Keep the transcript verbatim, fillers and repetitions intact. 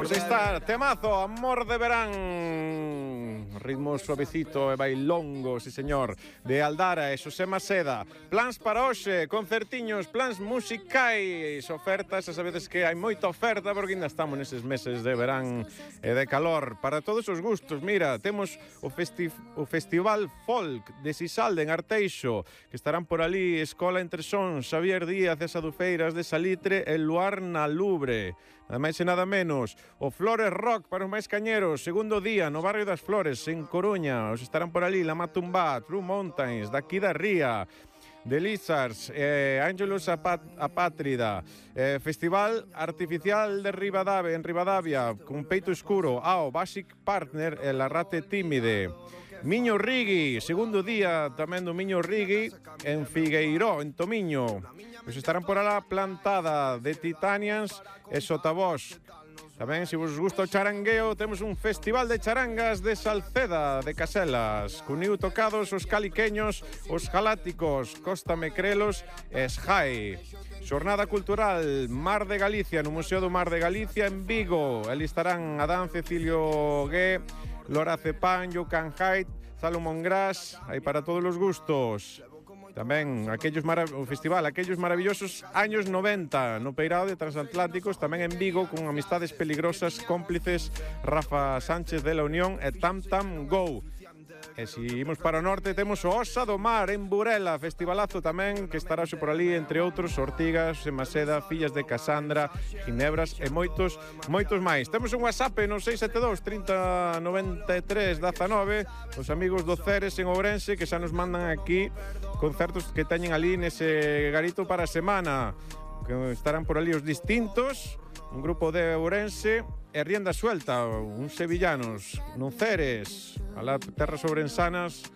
Pois aí está, temazo, Amor de Verán. Ritmo suavecito e bailongo, si señor, de Aldara e Xosé Maceda. Plans para hoxe, concertiños, plans musicais, ofertas, xa sabedes que hai moita oferta porque ainda estamos neses meses de verán e de calor. Para todos os gustos, mira, temos o, festi o Festival Folk de Sisalde en Arteixo, que estarán por ali Escola Entre Sons, Xavier Díaz e Sadufeiras de Salitre e Luar na Lubre. Nada máis e nada menos, o Flores Rock para os máis cañeros, segundo día no barrio das Flores, en Coruña. Os estarán por ali La Matumbá, True Mountains, daqui da Ría, The Lizards, eh, Ángelos Apátrida, eh, Festival Artificial de Ribadavia, en Ribadavia, con Peito Escuro, Ao, Basic Partner e La Rate Tímide. Miño Rigui, segundo día tamén do Miño Rigui en Figueiró, en Tomiño. Pois estarán por alá Plantada, de Titanians e Sotavós. Tamén, se vos gusta o charangueo, temos un festival de charangas de Salceda, de Caselas. Cuniu tocados os caliqueños, os galácticos, Costa Mecrelos e Esjai. Xornada cultural Mar de Galicia, no Museo do Mar de Galicia en Vigo. Ali estarán Adán Cecilio Gué, Lora Cepán, Jocan Haidt, Salomón Gras, hai para todos os gustos. Tamén aquellos o festival, aquellos maravillosos años noventa no Peirao de Transatlánticos, tamén en Vigo, con Amistades Peligrosas, Cómplices, Rafa Sánchez de la Unión e Tam Tam Go. E se imos para o norte, temos o Osa do Mar en Burela, festivalazo tamén, que estará xe por ali, entre outros, Ortigas, Maceda, Fillas de Casandra, Ginebras e moitos, moitos máis. Temos un WhatsApp no seis sete dos, trinta, noventa e tres, dezanove, os amigos do Ceres en Ourense, que xa nos mandan aquí concertos que teñen ali nese garito para a semana, que estarán por ali os distintos, un grupo de Ourense e Rienda Suelta, uns sevillanos, non Ceres, a la terras ourensanas,